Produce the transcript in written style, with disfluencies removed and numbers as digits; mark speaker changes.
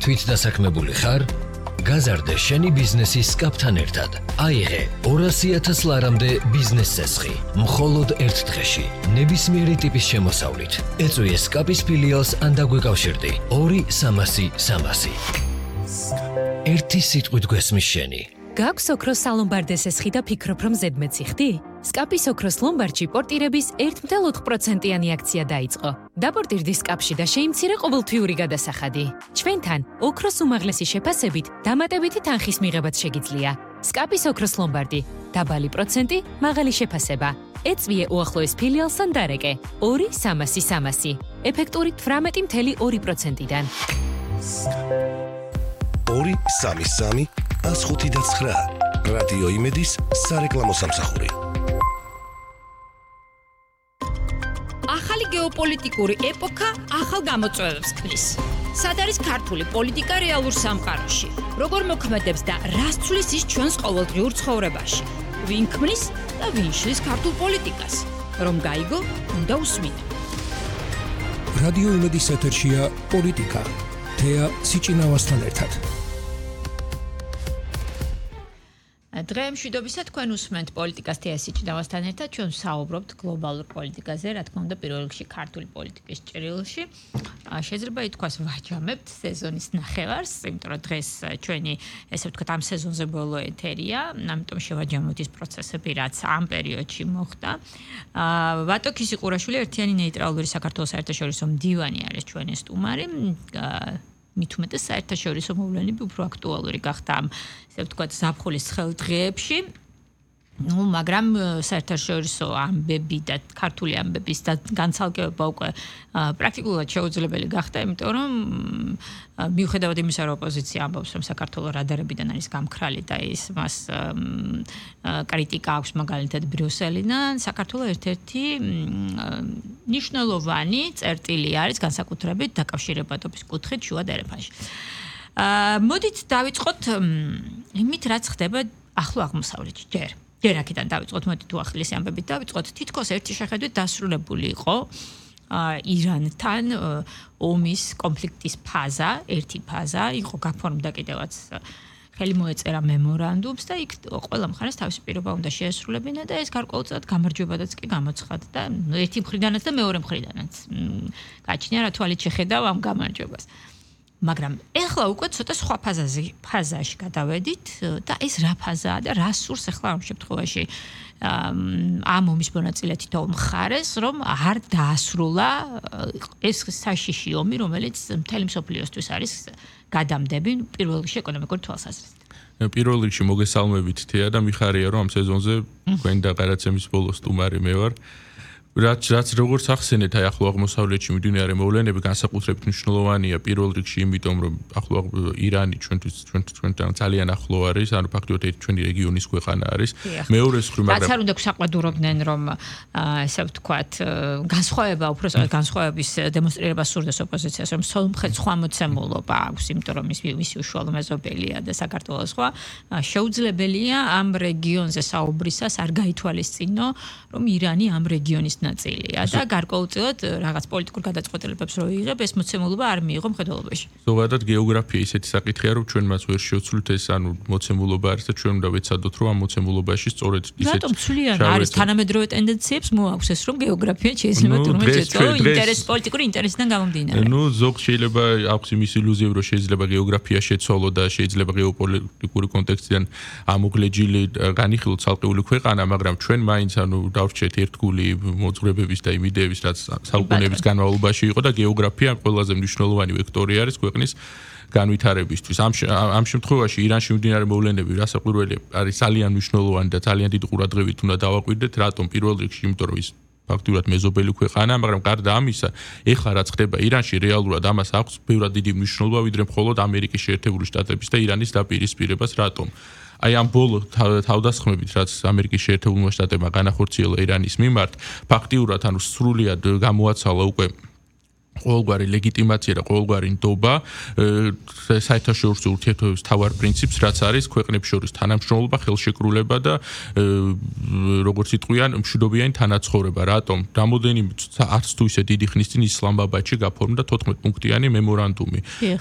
Speaker 1: თვითდასაქმებული ხარ? გაზარდე შენი ბიზნესის სკაპთან ერთად. აიღე 200,000 ლარამდე ბიზნეს წესხი. მხოლოდ ერთ დღეში. ნებისმიერი ტიპის შემოსავლით. ეწვიე სკაპის ფილიალს ან დაგვეკავშირდი 2-300-300. ერთი სიტყვით გვესმის შენი.
Speaker 2: გაქვს ოქროს სალომბარდეს ესხი და ფიქრობ, რომ ზედმეტი ხდი? სკაპის ოქროს ლომბარდში პორტირების 1.8%-იანი აქცია დაიწყო. დაპორტირდი სკაპში და შეიმცირე ყოველთვიური გადასახადი. ჩვენთან ოქროს უმაღლესი შეფასებით დამატებითი თანხის მიღებაც შეგიძლია. სკაპის ოქროს ლომბარდი. დაბალი პროცენტი, მაღალი შეფასება. ეწვიე უახლოეს ფილიალს ან დარეკე 2-300-300. ეფექტური 18.2%-დან.
Speaker 3: 2-3-3 105.9 რადიო იმედის სარეკლამო სამსახური.
Speaker 4: ახალი გეოპოლიტიკური ეპოქა ახალ გამოწვევებს ქმნის. სად არის ქართული პოლიტიკა რეალურ სამყაროში? როგორ მოქმედებს და რას ცვლის ის ჩვენს ყოველდღიურ ცხოვრებაში? ვინ ქმნის და ვინ შლის ქართულ პოლიტიკას? რომ გაიგო, უნდა უსმინო.
Speaker 5: რადიო იმედის ეთერშია პოლიტიკა. თეა სიჭინავასთან ერთად.
Speaker 4: დღე მშვიდობისა თქვენ უსმენთ პოლიტიკას თეა სიჭინავასთან ერთად. ჩვენ საუბრობთ გლობალურ პოლიტიკაზე, რა თქმა უნდა, პირველ რიგში ქართული პოლიტიკის ჭრილში. შეიძლება ითქვას ვაჯამებთ სეზონის ნახევარს, იმიტომ რომ დღეს ჩვენი, ესე ვთქვათ, ამ სეზონზე ბოლო ეთერია, ამიტომ შევაჯამოთ ის პროცესები, რაც ამ პერიოდში მოხდა. ვატო ქისიყურაშვილი, ერთიანი ნეიტრალური საქართველოს საერთაშორისო მდივანი არის ჩვენი სტუმარი. მით უმეტეს საერთაშორისო მოვლენები უფრო აქტუალური გახდა ამ, ესე ვთქვათ, ზაფხულის ცხელ დღეებში. მაგრამ საერთაშორისო ამბები და ქართული ამბების და განცალკევება უკვე პრაქტიკულად შეუძლებელი გახდა, იმიტომ რომ მიუხედავად იმისა, რომ ოპოზიცია ამბობს, რომ საქართველოს რადარებიდან არის გამქრალი და ის მას კრიტიკა აქვს მაგალითად ბრიუსელიდან, საქართველოს ერთ-ერთი მნიშვნელოვანი წერტილი არის განსაკუთრებით დაკავშირებადობის კუთხით შუა დერეფანში. მოდით დავიწყოთ იმით, რაც ხდება ახლო აღმოსავლეთში ჯერ. ჯერ აქედან დავიწყოთ, მოდით უახლესი ამბებით დავიწყოთ. თითქოს ერთი შეხედვით დასრულებული იყო ირანთან ომის კონფლიქტის ფაზა, ერთი ფაზა, იყო გაფორმდა კიდევაც ხელი მოეწერა მემორანდუმს და იქ ყველა მხარეს თავისი პირობა უნდა შეესრულებინა და ეს გარკვეულწილად გამარჯვებადაც კი გამოცხადდა და ერთი მხრიდანაც და მეორე მხრიდანაც. გაჩნია რა თვალით შეხედავ ამ გამარჯვებას. მაგრამ ეხლა უკვე ცოტა სხვა ფაზაში გადავედით და ეს რა ფაზაა და რა სურს ეხლა ამ შემთხვევაში ამ ომის მონაწილე თითოეულ მხარეს, რომ არ დაასრულა ეს საშიში ომი, რომელიც მთელი მსოფლიოსთვის არის გადამდები პირველ რიგში ეკონომიკურ თვალსაზრისით.
Speaker 6: პირველ რიგში მოგესალმებით თეა და მიხარია, რომ ამ სეზონზე თქვენ და გადაცემის ბოლო სტუმარი მე ვარ. რაც როგორც ახსენეთ, აი ახლო აღმოსავლეთში მიმდინარე მოვლენები განსაკუთრებით მნიშვნელოვანია პირველ რიგში, იმიტომ რომ ახლო ირანი ჩვენთან ძალიან ახლო არის, ანუ ფაქტობრივად ჩვენი რეგიონის ქვეყანა არის. მეორე მხრივ, მაგრამ
Speaker 4: რაც არ უნდა გვსაყვადურობდნენ, რომ ესე ვთქვათ, განსხვავების დემონსტრირება სურდეს ოპოზიციას, რომ სოლმხეთ სხვა მოცემულობა აქვს, იმიტომ რომ მისი უშუალო მეზობელია და საქართველოს სხვა, შეუძლებელია ამ რეგიონზე საუბრისას არ გაითვალისწინო, რომ ირანი ამ რეგიონის ნაწილია და გარკვეულწილად რაღაც პოლიტიკურ გადაწყვეტილებებს რო იღებ, ეს მოცემულობა არ მიიღო მხედველობაში.
Speaker 6: ზოგადად გეოგრაფია ისეთი საკითხია, რომ ჩვენ მას ვერ შევცვლით ეს, ანუ მოცემულობა არის და ჩვენ უნდა ვეცადოთ, რომ ამ მოცემულობაში სწორედ ისეთი
Speaker 4: რატომ ცვლიან არის თანამედროვე ტენდენციებს მოაქვს ეს, რომ გეოგრაფია შეიძლება თურმე შეწო პოლიტიკური ინტერესიდან გამომდინარე.
Speaker 6: ზოგ შეიძლება აქვს იმის ილუზია, რომ შეიძლება გეოგრაფია შეცვალო და შეიძლება გეოპოლიტიკური კონტექსტიდან ამოგლეჯილი განიხილოთ ცალკეული ქვეყანა, მაგრამ ჩვენ მაინც დავრჩეთ ერთგული მოძღვრებების და იმ იდეების, რაც საუკუნეების განმავლობაში იყო და გეოგრაფია ყველაზე მნიშვნელოვანი ვექტორი არის ქვეყნის განვითარებისთვის. ამ შემთხვევაში ირანში მიმდინარე მოვლენები რასაკვირველია არის ძალიან მნიშვნელოვანი და ძალიან დიდ ყურადღებით უნდა დავაკვირდეთ, რატომ პირველ რიგში, იმიტომ რომ ის ფაქტობრივად მეზობელი ქვეყანა, მაგრამ გარდა ამისა, ეხლა რაც ხდება ირანში, რეალურად ამას აქვს ბევრად დიდი მნიშვნელობა, ვიდრე მხოლოდ ამერიკის შეერთებული შტატების და ირანის დაპირისპირებას, რატომ? აი ამ ბოლო თავდასხმებით, რაც ამერიკის შეერთებულმა შტატებმა განახორციელა ირანის მიმართ, ფაქტიურად სრულიად გამოაცალა უკვე ყოველგვარი ლეგიტიმაცია და ყოველგვარი ნდობა საერთაშორისო ურთიერთობების მთავარ პრინციპს, რაც არის ქვეყნებს შორის თანამშრომლობა, ხელშეკრულება და როგორც იტყვიან, მშვიდობიანი თანაცხოვრება. რატომ? რამოდენიმე არც თუ ისე დიდი ხნის წინ ისლამაბადში გაფორმდა 14 პუნქტიანი მემორანდუმი.